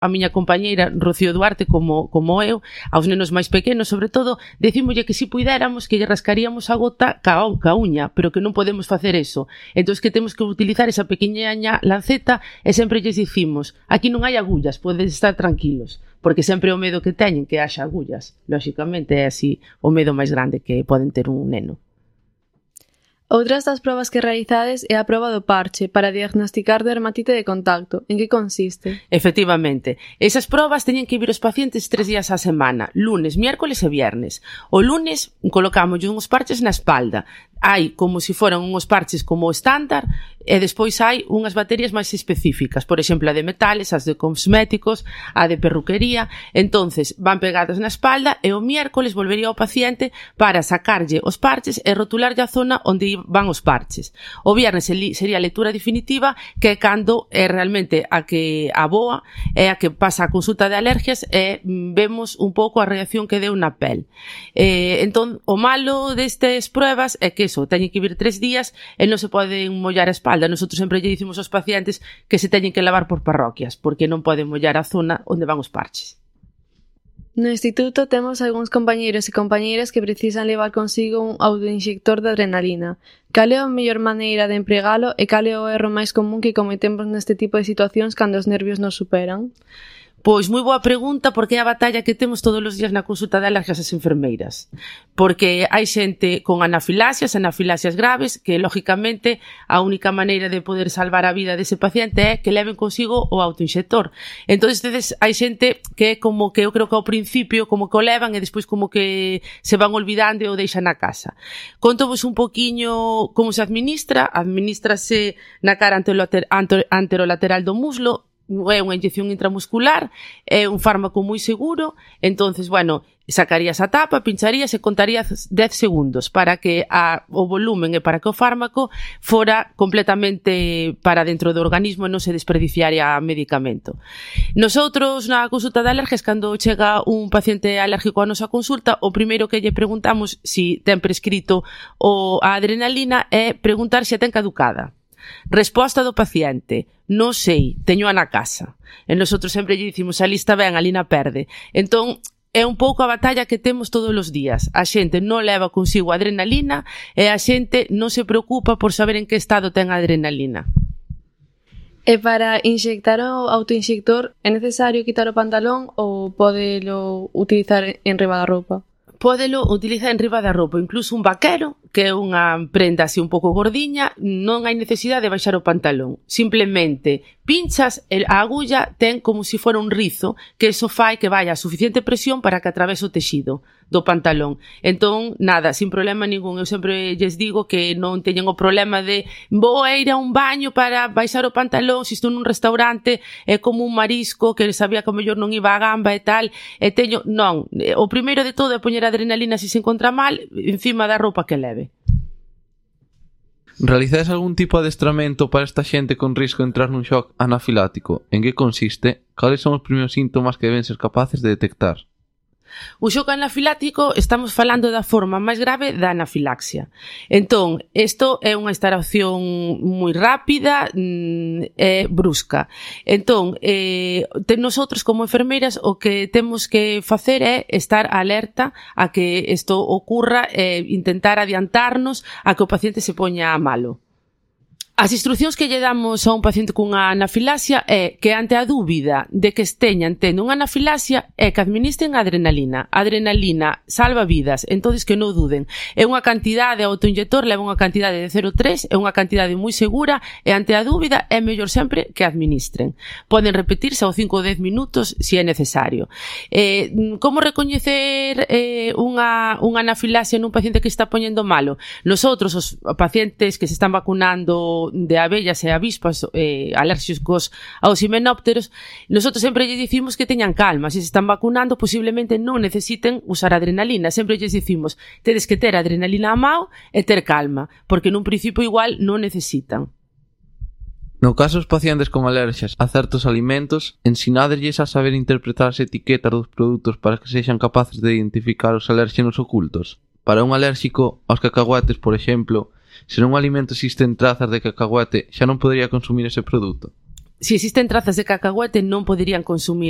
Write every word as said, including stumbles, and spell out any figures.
a miña compañeira Rocío Duarte como, como eu, aos nenos máis pequenos, sobre todo, decímolle que si puidéramos que lle rascaríamos a gota ca, ca uña, pero que non podemos facer eso. Entón que temos que utilizar esa pequeñaña lanceta e sempre lles dicimos, aquí non hai agullas, podes estar tranquilos, porque sempre o medo que teñen que haxa agullas. Lóxicamente é así o medo máis grande que poden ter un neno. Outras das probas que realizades é a proba do parche para diagnosticar dermatite de contacto. En que consiste? Efectivamente. Esas probas teñen que vir os pacientes tres días á semana, lunes, miércoles e viernes. O lunes colocamos uns parches na espalda. Hai como se foran uns parches como estándar e despois hai unhas baterías máis específicas, por exemplo, a de metales, as de cosméticos, a de perruquería. Entonces van pegadas na espalda e o miércoles volvería ao paciente para sacarlle os parches e rotularlle a zona onde van os parches. O viernes sería a lectura definitiva, que é cando é realmente a que aboa, é a que pasa a consulta de alergias e vemos un pouco a reacción que deu na pel. Eh, entón, o malo destes pruebas é que eso, teñen que vir tres días e non se poden mollar a espalda. Nosotros sempre lle dicimos aos pacientes que se teñen que lavar por parroquias, porque non poden mollar a zona onde van os parches. No instituto temos algúns compañeiros e compañeiras que precisan levar consigo un autoinxector de adrenalina. Cal é a mellor maneira de empregalo e cal é o erro máis común que cometemos neste tipo de situacións cando os nervios nos superan? Pois moi boa pregunta, porque é a batalla que temos todos os días na consulta de alergias as enfermeiras. Porque hai xente con anafilaxias, anafilaxias graves, que lógicamente a única maneira de poder salvar a vida dese paciente é que leven consigo o autoinxector. Entón, hai xente que é como que eu creo que ao principio como que o levan e despois como que se van olvidando e o deixan na casa. Contovos un poquiño como se administra. Administrase na cara anterolateral do muslo. É unha inyección intramuscular, é un fármaco moi seguro. Entonces, bueno, sacarías a tapa, pincharías e contarías dez segundos para que a, o volumen e para que o fármaco fora completamente para dentro do organismo e non se desperdiciaria medicamento. Nosotros na consulta de alergias, cando chega un paciente alérgico á nosa consulta, o primeiro que lle preguntamos si ten prescrito o, a adrenalina é preguntar se a ten caducada. Resposta do paciente: non sei, teño na casa. E nosotros sempre lle dicimos, a lista ben, a lina perde. Entón, é un pouco a batalla que temos todos os días. A xente non leva consigo a adrenalina e a xente non se preocupa por saber en que estado ten a adrenalina. E para inxectar o autoinxector é necesario quitar o pantalón ou podelo utilizar en riba da roupa? Pódelo utilizar en riba da roupa, incluso un vaquero, que é unha prenda así un pouco gordiña, non hai necesidade de baixar o pantalón. Simplemente pinchas, a agulla ten como se fora un rizo, que eso fai que vaya a suficiente presión para que atravese o texido do pantalón. Entón, nada, sin problema ningún. Eu sempre lles digo que non teñen o problema de vou a ir a un baño para baixar o pantalón, se estou nun restaurante, é como un marisco que sabía que o mellor non iba a gamba e tal, e teño, non, o primeiro de todo é poñer a adrenalina se se encontra mal encima da roupa que leve. Realizades algún tipo de adestramento para esta xente con risco de entrar nun shock anafilático? En que consiste? Cales son os primeiros síntomas que deben ser capaces de detectar? O shock anafilático, estamos falando da forma máis grave da anafilaxia. Entón, isto é unha instalación moi rápida e eh, brusca. Entón, eh, nosotros como enfermeiras o que temos que facer é estar alerta a que isto ocurra e intentar adiantarnos a que o paciente se poña malo. As instruccións que lle damos a un paciente cunha anafilaxia é que ante a dúbida de que esteñan tendo unha anafilaxia é que administren a adrenalina. A adrenalina salva vidas, entonces que non duden. É unha cantidade, o autoinjector leva unha cantidade de cero coma tres, é unha cantidade moi segura e ante a dúbida é mellor sempre que administren. Poden repetirse aos cinco ou dez minutos se é necesario. Eh, como recoñecer eh, unha, unha anafilaxia nun paciente que está poñendo malo? Nosotros, os pacientes que se están vacunando de abellas e avispas eh, alérxicos aos himenópteros, nosotros sempre lles dicimos que teñan calma. Se se están vacunando, posiblemente non necesiten usar adrenalina. Sempre lles dicimos, tedes que ter adrenalina a mao e ter calma, porque nun principio igual non necesitan. No caso dos pacientes con alerxias a certos alimentos, ensinádelles a saber interpretar as etiquetas dos produtos para que sexan capaces de identificar os alérxenos ocultos. Para un alérxico aos cacahuetes, por exemplo, se nun alimento existen trazas de cacahuete, xa non podería consumir ese produto. se existen trazas de cacahuete non poderían consumir